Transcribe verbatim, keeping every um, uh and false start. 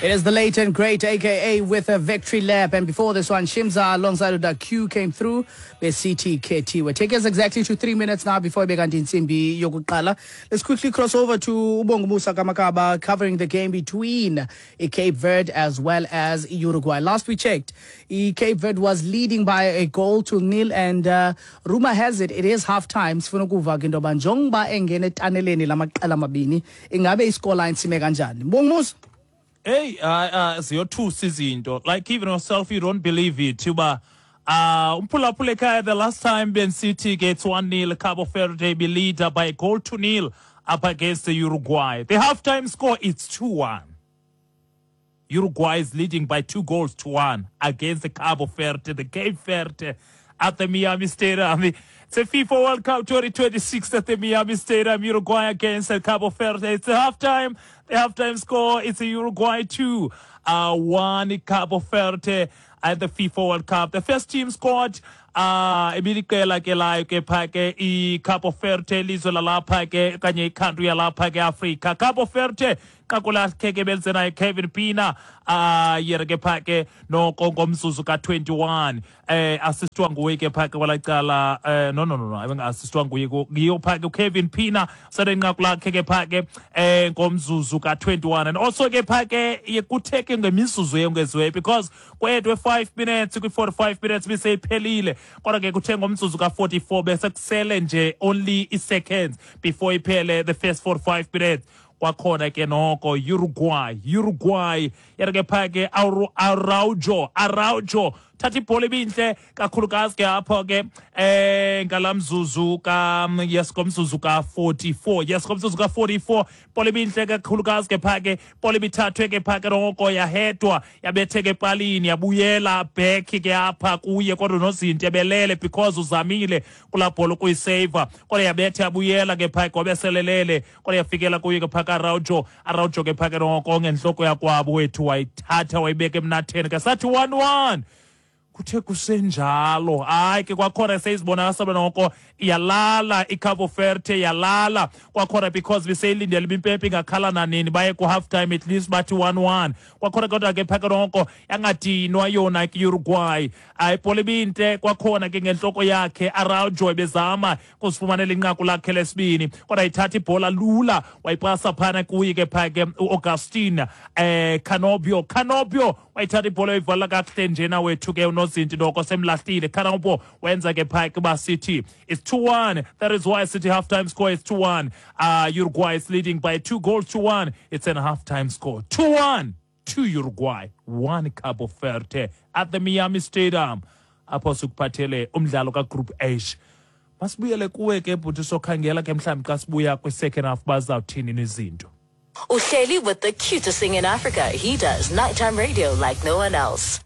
It is the late and great A K A with a victory lap. And before this one, Shimza alongside the Q came through with C T K T. We're taking us exactly to three minutes now before bekanti intsimbi yokuqala. Let's quickly cross over to Ubongumusa Kamakaba, covering the game between Cape Verde as well as Uruguay. Last we checked, Cape Verde was leading by a goal to nil, and uh, rumor has it it is half time. Sifuna ukuva ke into yoba njengoba engena etaneleni lamaqela amabini, ingabe iscoreline sime kanjani? Mbongumusa. Hey, uh, uh ziyothusa izinto. Like, even yourself, you don't believe it. Uba uh umphulaphula ekhaya, the last time bensithi ke it's one nil, Cabo Verde be leader by a goal to nil up against the Uruguay. The halftime score is two one. Uruguay is leading by two goals to one against the Cabo Verde, the Cape Verde, at the Miami Stadium. It's a FIFA World Cup twenty twenty-six at the Miami Stadium, Uruguay against the Cabo Verde. It's a halftime. The halftime score is a Uruguay two, uh, one Cabo Verde at the FIFA World Cup. The first team scored uh ibiliqela ke layo ke pha ke iCabo Verde, ilizwe lalapha ke okanye icountry yalapha ke Africa. Cabo Verde, inqaku lakhe ke belize Kevin Pina uh yena ke pha ke noko ngomzuzu ka twenty-one, eh assistwa nguye ke pha ke kwalacala. eh no no no no abenga-assistwa nguye, ngiyo pha ke uKevin Pina sele inqaku lakhe ke pha ke eh ngomzuzu ka twenty-one. And also ke pha ke kuthe ke ngemizuzu yongeziweyo, because kwedwe five minutes kwi forty-five minutes biseyiphelile, kodwa ke kuthe ngomzuzu ka forty-four, bese kusele nje only i-seconds before iphele the first forty-five minutes, kwakhona ke noko Uruguay Uruguay yena ke pha ke Araujo Araujo thatha ibhola ibinhle kakhulukazi ke apho ke eh ngalamzuzu ka, yes, ngomzuzu ka forty-four, yes, ngomzuzu ka forty-four, ibhola ibinhle kakhulukazi ke pha ke, ibhola ibithathwe ke pha ke noko, yahedwa, yabetheka epalini, yabuyela back ke apha kuye, kodwa nozinto ebelele because uzamile kulaa bhola ukuyiseva, kodwa yabetha yabuyela ke pha ke, wabeselelele, kodwa yafikela kuye ke pha ka Araujo. Araujo ke pha ke noko ngenhloko yakwabo wethu wayithatha, wayibeka emnatheni ke, sathi one one. Kuthe kusenjalo, hayi ke kwakhona seyizibonakala noko iyalala iCabo Verde, yalala kwakhona because beseyilindele uba impempe ingakhala nanini baye ku-half time, at least bathi one one kwakhona. Kodwa ke phaka noko yangadinwa yona ke Uruguay. Hayi, ibhola ibintle kwakhona ke ngentloko yakhe Araujo, ebezama kuzifumanela inqaku lakhe lesibini, kodwa ithatha ibhola lula, wayipasa phana kuye ke pha ke uAugustin eh Canobio Canobio wayithatha ibhola, wayivala kakuhle njena wethu ke unozinti noko semlahlile. Canobio wenza ke pha ke uba sithi it's two one. That is why sithi half time score is two one. uh Uruguay is leading by two goals to one. It's an half time score two one to Uruguay, one Cabo Verde at the Miami Stadium, apho sikuphathele umdlalo kaGroup H. Masibuyele kuwe ke bhuti, sokhangela ke mhlawumbi xa sibuya kwi-second half bazawuthini izinto. Uhleli with the cutest thing in Africa. He does nighttime radio like no one else.